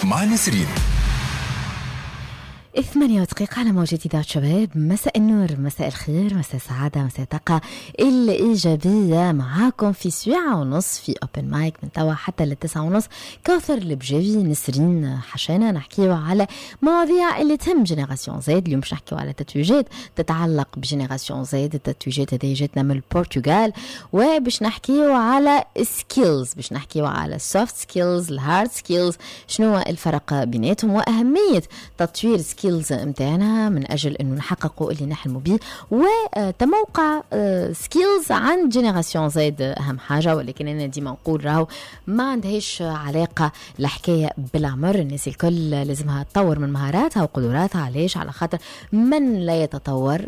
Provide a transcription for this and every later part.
مع نسرين. 8 ودقيقة على موجة إذاعة شباب. مساء النور، مساء الخير، مساء السعادة، مساء الطاقة الإيجابية. معاكم في سويعة ونص في open mic من توا حتى لل9:30، كوثر البجاوي، نسرين حشانة، نحكيو على مواضيع اللي تهم génération Z. اليوم باش نحكيو على تتويجات تتعلق ب génération Z. التتويجات هذه جاتنا من البرتغال، وباش نحكيو على skills، باش نحكيو على ال soft skills، ال hard skills، شنو الفرق بيناتهم وأهمية تطوير skills نتاعنا من اجل انه نحققوا اللي نحلموا به، وتموقع skills عند génération Z اهم حاجه. ولكن انا ديما نقول راهو ما عندهاش علاقة الحكاية بالعمر، الناس الكل لازمها تطور من مهاراتها وقدراتها. علاش؟ على خاطر من لا يتطور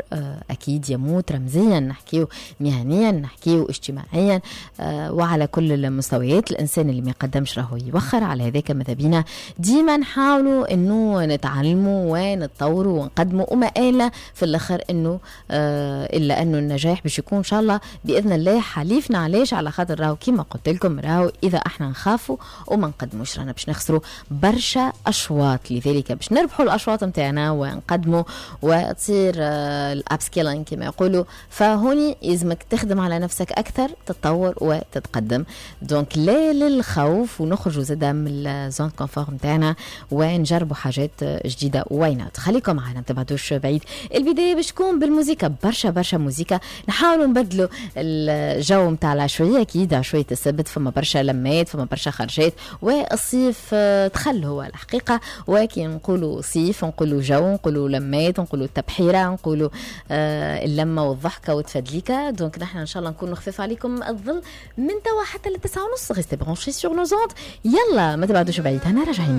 اكيد يموت رمزيا، نحكيو مهنيا، نحكيو اجتماعيا، وعلى كل المستويات. الانسان اللي ما يقدمش راهو يوخر. على هذاك ماذا بينا ديما نحاولوا انه نتعلموا ونتطوروا ونقدموا، وما آلنا في الاخر انه الا انه النجاح باش يكون ان شاء الله باذن الله حليفنا. علاش؟ على خاطر راهو كيما قلت لكم، راهو اذا احنا نخافوا وما نقدموش رانا باش نخسروا برشا اشواط. لذلك باش نربحوا الاشواط نتاعنا ونقدموا وتصير ال upskilling كما يقولوا، فهوني يلزمك تخدم على نفسك اكثر، تتطور وتتقدم. donc لا للخوف، ونخرجوا زاده من ال zone confort نتاعنا ونجربوا حاجات جديده. why not؟ خليكم معنا، ما تبعدوش بعيد. البداية باش تكون بالموسيقى، برشا برشا موسيقى، نحاولوا نبدلوا الجو نتاع العشويه. اكيد عشويه السبت فما برشا لمات، فما برشا خرجات، والصيف دخل هو الحقيقه. وكي نقولوا صيف نقولوا جو، نقولوا لمات، نقولوا تبحيره، نقولوا اللمة والضحكه والتفدليكه. donc نحن ان شاء الله نكونوا خفاف عليكم الظل من توا حتى ل9:30. restez branchés sur nos ondes. يلا ما تبعدوش بعيد، انا راجعين.